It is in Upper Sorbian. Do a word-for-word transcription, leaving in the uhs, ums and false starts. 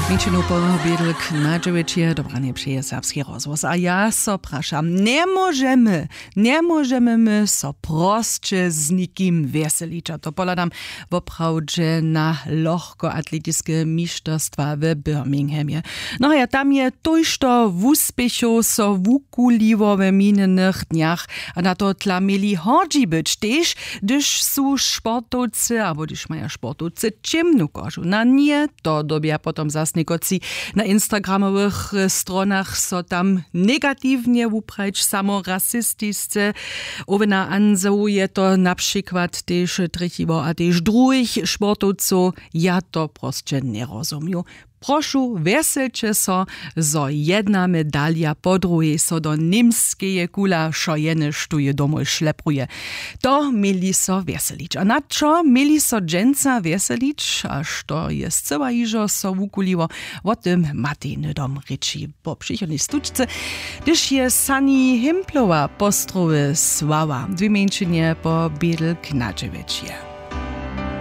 Mjeńšinu po bědlk na dźewjeće dobranje přeje serbski rozhłos a ja so prašam, njemóžemy njemóžemy my so prosće z nikim wjeselić a to pohladam woprawdźe na lochkoatletiske mišterstwa w birminghamje. No a ja tam je tójšto wuspěchow so wukuliło w minjenych dnjach. A na to tla měli hordźi być tež hdyž su sportowcy abo hdyž maja sportowcy ćěmnu kožu na nje to dyrbja potom zas někotři na instagramowych stronach so tam negatiwnje wuprajić samo rasistisce. Owena ansow je to na přikład tež trjechiło a tež druhich sportowcow. Ja to prosće njerozumju. Prošu wjeselće so zo jedna medalja po druhej so do němskeje kula wšo jene štó je domoj šlepruje. To měli so wjeselić a na čo měli so dźensa wjeselić a što je scyła hižo so wukuliło? Wo tym matej hnydom rěči po přichodnej stučce, hdyž je sani himplowa postrowy słała dwě mjeńšinje po bědl knadźewjećje.